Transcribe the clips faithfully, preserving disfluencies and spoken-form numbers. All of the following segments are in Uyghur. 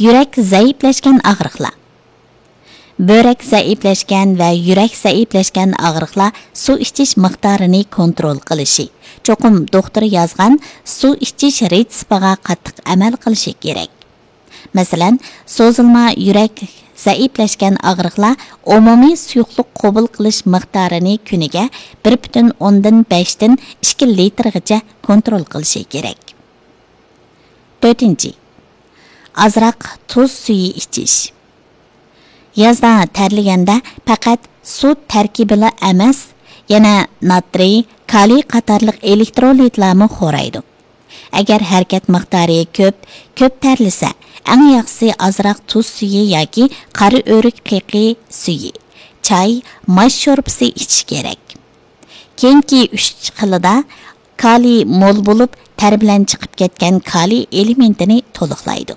يۈرەك زەئىپلەشكەن ئاغرىقلار. بۆرەك زەئىپلەشكەن ۋە يۈرەك زەئىپلەشكەن ئاغرىقلار سۇ ئىچىش مىقدارىنى كونترول قىلىشى، چوقۇم دوختۇر يازغان سۇ ئىچىش رېتسېپىغا قاتتىق ئەمەل قىلىشى كېرەك. مەسىلەن، سوزۇلما يۈرەك زەئىپلەشكەن ئاغرىقلار ئومۇمىي سۇيۇقلۇق قوبۇل قىلىش مىقدارىنى كۈنىگە بىر پۈتۈن ئوندىن بەشتىن ئىككى لىتىرغىچە كونترول قىلىشى كېرەك. تۆتىنچى، ئازراق تۇز سۈيى ئىچىش. يازدا تەرلىگەندە پەقەت سۇ تەركىبىلا ئەمەس، يەنە ناترىي، كالىي قاتارلىق ئېلېكترولىتلارمۇ خورايدۇ. ئەگەر ھەرىكەت مىقدارى كۆپ، كۆپ تەرلىسە، ئەڭ ياخشىسى ئازراق تۇز سۈيى ياكى قارا ئۆرۈك پېقى سۈيى، چاي، ماش شورپىسى ئىچىش كېرەك. كېيىنكى ئۈچ خىلىدا كالىي مول بولۇپ، تەر بىلەن چىقىپ كەتكەن كالىي ئېلېمېنتىنى تولۇقلايدۇ.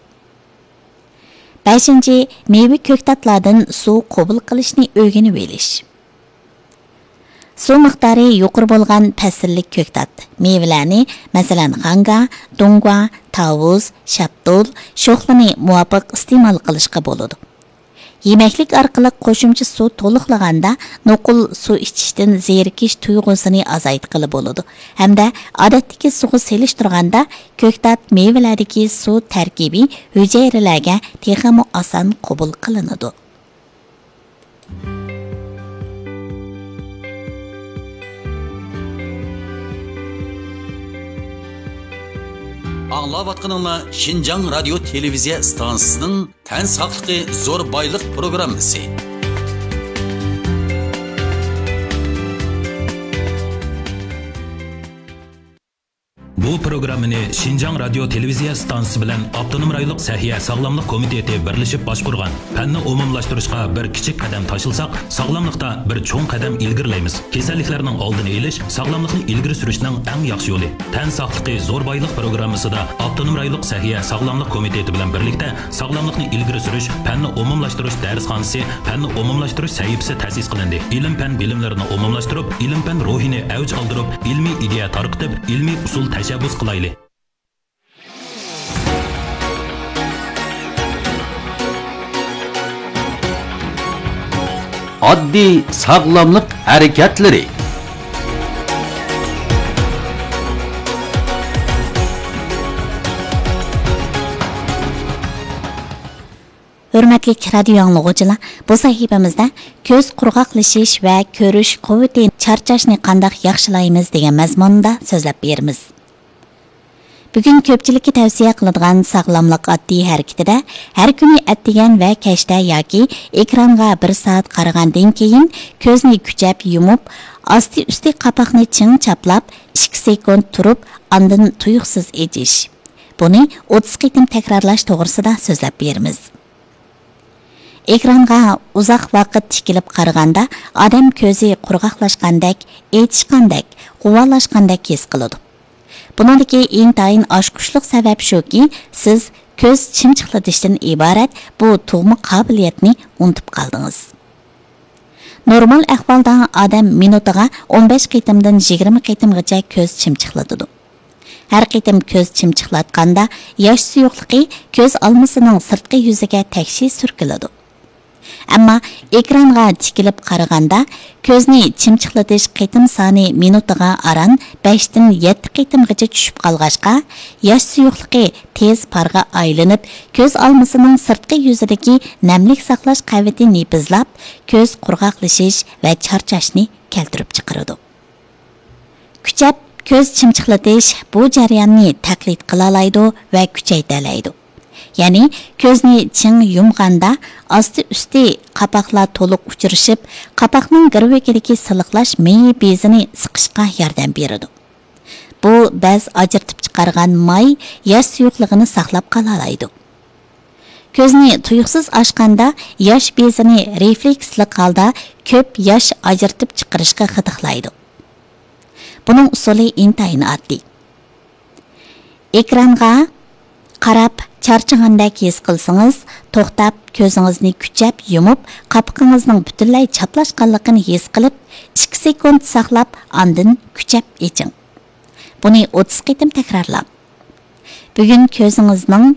بەشىنچى، مېۋە كۆكتاتلاردىن سۇ قوبۇل قىلىشنى ئۆگىنىۋېلىش. سۇ مىقدارى يۇقىرى بولغان پەسىللىك كۆكتات، مېۋىلەرنى، مەسىلەن، خاڭگا، دۇڭگۇا، تاۋۇز، شاپتۇل، شوخلىنى مۇۋاپىق ئىستېمال قىلىشقا بولىدۇ. يېمەكلىك ئارقىلىق قوشۇمچە سۇ تولۇقلىغاندا، نوقۇل سۇ ئىچىشتىن زېرىكىش تۇيغۇسىنى ئازايتقىلى بولىدۇ ھەمدە ئادەتتىكى سۇغا سېلىشتۇرغاندا، كۆكتات مېۋىلەردىكى سۇ تەركىبى ھۈجەيرىلەرگە تېخىمۇ ئاسان قوبۇل قىلىنىدۇ. ئاڭلاۋاتقىنىڭلار شىنجاڭ رادىيو تېلېۋىزىيە ئىستانسىسىنىڭ تەن ساقلىقى زور بايلىق پروگراممىسى. بۇ پروگراممىنى شىنجاڭ رادىيو تېلېۋىزىيە ئىستانسىسى بىلەن ئاپتونوم رايونلۇق سەھىيە ساغلاملىق كومىتېتى بىرلىشىپ باشقۇرغان. پەننى ئومۇملاشتۇرۇشقا بىر كىچىك قەدەم تاشلىساق، ساغلاملىقتا بىر چوڭ قەدەم ئىلگىرىلەيمىز. كېسەللىكلەرنىڭ ئالدىنى ئېلىش، ساغلاملىقنى ئىلگىرى سۈرۈشنىڭ ئەڭ ياخشى يولى. تەن ساقلىقى زور بايلىق پروگراممىسىدا ئاپتونوم رايونلۇق سەھىيە ساغلاملىق كومىتېتى بىلەن بىرلىكتە ساغلاملىقنى ئىلگىرى سۈرۈش، پەننى ئومۇملاشتۇرۇش دەرسخانىسى، پەننى ئومۇملاشتۇرۇش سەھىپىسى تەسىس قىلىندى. ئىلىم-پەن بىلىملىرىنى ئومۇملاشتۇرۇپ، ئىلىم-پەن روھىنى ئەۋج ئالدۇرۇپ، ئىلمىي ئىدىيە تارقىتىپ، ئىلمىي ئۇسۇل تەشەببۇس قىلايلى. ئاددىي ساغلاملىق ھەرىكەتلىرى. ھۆرمەتلىك رادىيو ئاڭلىغۇچىلار، بۇ سەھىپىمىزدە كۆز قۇرغاقلىشىش ۋە كۆرۈش قۇۋۋىتى چارچاشنى قانداق ياخشىلايمىز دېگەن مەزمۇندا سۆزلەپ بېرىمىز. بۈگۈن كۆپچىلىككە تەۋسىيە قىلىدىغان ساغلاملىق ئاددىي ھەرىكىتىدە ھەر كۈنى ئەتىگەن ۋە كەچتە ياكى ئېكرانغا بىر سائەت قارىغاندىن كېيىن كۆزنى كۈچەپ يۇمۇپ، ئاستى ئۈستى قاپاقنى چىڭ چاپلاپ، ئىككى سېكۇنت تۇرۇپ، ئاندىن تۇيۇقسىز ئېچىش. بۇنى ئوتتۇز قېتىم تەكرارلاش توغرىسىدا سۆزلەپ بېرىمىز. ئېكرانغا ئۇزاق ۋاقىت تىكىلىپ قارىغاندا، ئادەم كۆزى قۇرغاقلاشقاندەك، ئېچىشقاندەك، غۇۋالاشقاندەك ھېس قىلىدۇ. بۇنىڭدىكى ئىنتايىن ئاچقۇچلۇق سەۋەب شۇكى، سىز كۆز چىمچىقلىتىشتىن ئىبارەت بۇ تۇغما قابىلىيەتنى ئۇنتۇپ قالدىڭىز. نورمال ئەھۋالدا ئادەم مىنۇتىغا ئون بەش قېتىمدىن يىگىرمە قېتىمغىچە كۆز چىمچىقلىتىدۇ. ھەر قېتىم كۆز چىمچىقلاتقاندا، ياش سۇيۇقلۇقى كۆز ئالمىسىنىڭ سىرتقى يۈزىگە تەكشى سۈركىلىدۇ. ئەمما ئېكرانغا تىكىلىپ قارىغاندا، كۆزنى چىمچىقلىتىش قېتىم سانى مىنۇتىغا ئاران بەشتىن يەتتە قېتىمغىچە چۈشۈپ قالغاچقا، ياش سۇيۇقلۇقى تېز پارغا ئايلىنىپ، كۆز ئالمىسىنىڭ سىرتقى يۈزىدىكى نەملىك ساقلاش قەۋىتى نېپىزلاپ، كۆز قۇرغاقلىشىش ۋە چارچاشنى كەلتۈرۈپ چىقىرىدۇ. كۈچەپ كۆز چىمچىقلىتىش بۇ جەرياننى تەقلىد قىلالايدۇ ۋە كۈچەيتەلەيدۇ. يەنى كۆزنى چىڭ يۇمغاندا ئاستى ئۈستى قاپاقلار تولۇق ئۇچرىشىپ، قاپاقنىڭ گىرۋىكىدىكى سىلىقلاش مېيى بېزىنى سىقىشقا ياردەم بېرىدۇ. بۇ بەز ئاجرىتىپ چىقارغان ماي ياش سۇيۇقلۇقىنى ساقلاپ قالالايدۇ. كۆزنى تۇيۇقسىز ئاچقاندا ياش بېزىنى رېفلېكسلىق ھالدا كۆپ ياش ئاجرىتىپ چىقىرىشقا غىدىقلايدۇ. بۇنىڭ ئۇسۇلى ئىنتايىن ئاددىي. ئېكرانغا قاراپ چارچىغاندەك ھېس قىلسىڭىز، توختاپ، كۆزىڭىزنى كۈچەپ يۇمۇپ، قاپىقىڭىزنىڭ پۈتۈنلەي چاپلاشقانلىقىنى ھېس قىلىپ، ئىككى سېكۇنت ساقلاپ، ئاندىن كۈچەپ ئېچىڭ. بۇنى ئوتتۇز قېتىم تەكرارلاڭ. بۈگۈن كۆزىڭىزنىڭ